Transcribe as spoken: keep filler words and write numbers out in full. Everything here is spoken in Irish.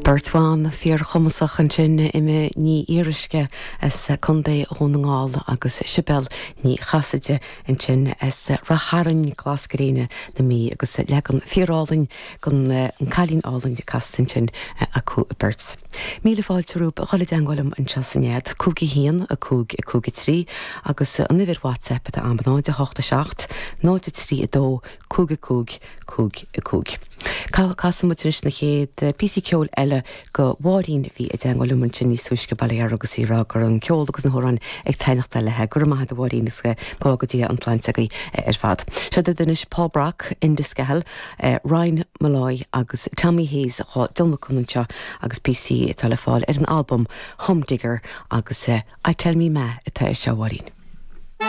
Beirt bhan fíorchumasach ansin Emma Ní Fhíoruisce as Contae Dhún na nGall agus Sibéal Ní Chasaide ansin as Ráth Chairn glas gréine na Mí agus leagan fíorálainn den An Cailín Álainn casta ansin acu beirt. Míle fáilte romhaibh a dhul i dteagmháil liom anseo san nead, cúig a haon a cúig a cúig a trí agus an uimhir WhatsApp atá agam náid a hocht a seacht, náid a trí a dó, cúig a cúig, cúig a cúig. Casfaidh muid anois na chéad píosa ceoil eile go Mháirín bhí i dteagmháil liom ansin níos túisce baile agus í ag rá go raibh an ceol agus na hamhráin ag taitneacht léi go raibh maith agat a Mháirín is go go dtí an tsláinte agaibh ar fad. Seo anois Paul Brock, Enda Skehill, Ryan Molloy agus Tommy Hayes dhá dtionlacan anseo agus píosa atá le fáil ar an albam Humdinger agus I Tell Me Ma atá ar seo Mháirín.